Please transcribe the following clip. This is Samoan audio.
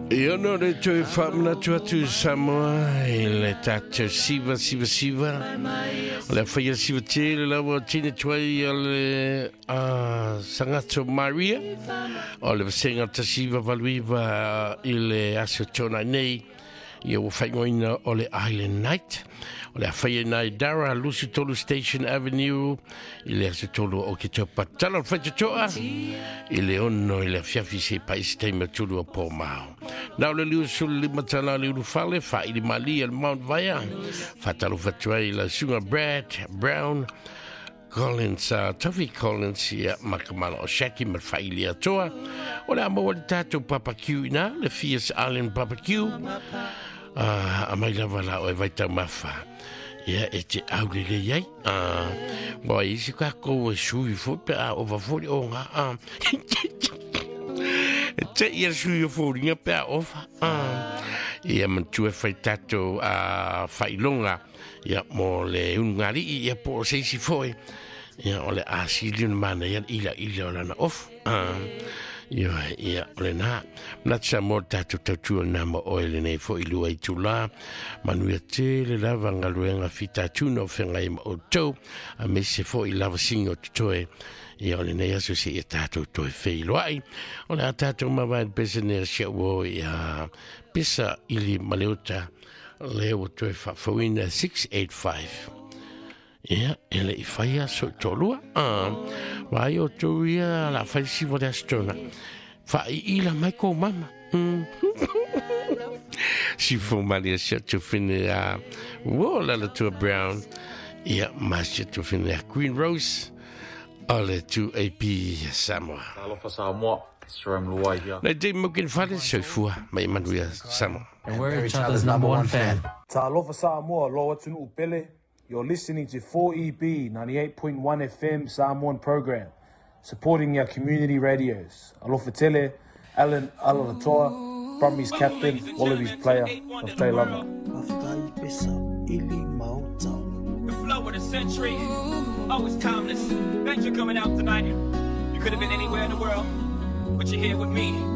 Ia no le toe faamanatu atu i Samoa i le tatou siva siva siva. O le whaia siva tele lava o tine tuai o le Sangato Maria. O le vasenga tasiva valuiva i le aso tōnai nei. Ia ua whaingoina o le Island Night. O le a whaia nai Dara, Lusu Tolu Station Avenue, i le aso tolu o ke tau patala o le whaitotoa, i le ono i le afiafi se paisi taima tulu o pō mao. Nā o le liu sulu lima tala le ulufale, wha ili mali le Mount Vaia, whatalo whatuai la sunga Brad Brown, Collins, Toffee Collins, ia makamala o Shaki ma whaili atoa. O le a maua le tātou barbecue ina, le Fierce Island Barbecue. A mai lava la o e vaitau mafa. Ia e te aule le iai. Wa isi ka kou e sui fo pe a ova fo o ngā. E te ia sui o fo ringa pe a ova. Ia mantu e whai tātou whailonga. Ia mo le unungari ia po o seisi foi. Ia o le asili mana ia ila ila o lana ofu. Ia, ia, o le nā. Manatu sa mo tātou tautua nā ma oe le nei fo i lua i tūlā. Manuia tele lava ngaluenga fita tuna o whenga i ma o tau. A me se fo i lava singa o tutoe. Ia o le nei aso se ia tātou toe wheiloai. O le a tātou mawae pesa nea sia ua ia pesa ili maleuta. Le o toe whawhawina 685. Ia, ele i whaia so tōlua. Vai o tō ia la whaisi wa le astona. Wha i ila mai kō mama. Si fo mali sia tu whine a wo la la tua Brown. Ia, ma sia tu whine a Queen Rose. O le 2AP Samoa. Alofa Samoa, it's Jerome Luai here. Nei te mukin whare soifua, mai manuia Samoa. And we're each other's number one fan. Talofa Samoa, lo atunu upele. You're listening to 4EB 98.1 FM Samoan program, supporting our community radios. Alofa tele, Alan Alaalatoa, Brumbies captain, Wallabies player of Tailama. The flow of the century, always timeless. Thanks for coming out tonight. You could have been anywhere in the world, but you're here with me.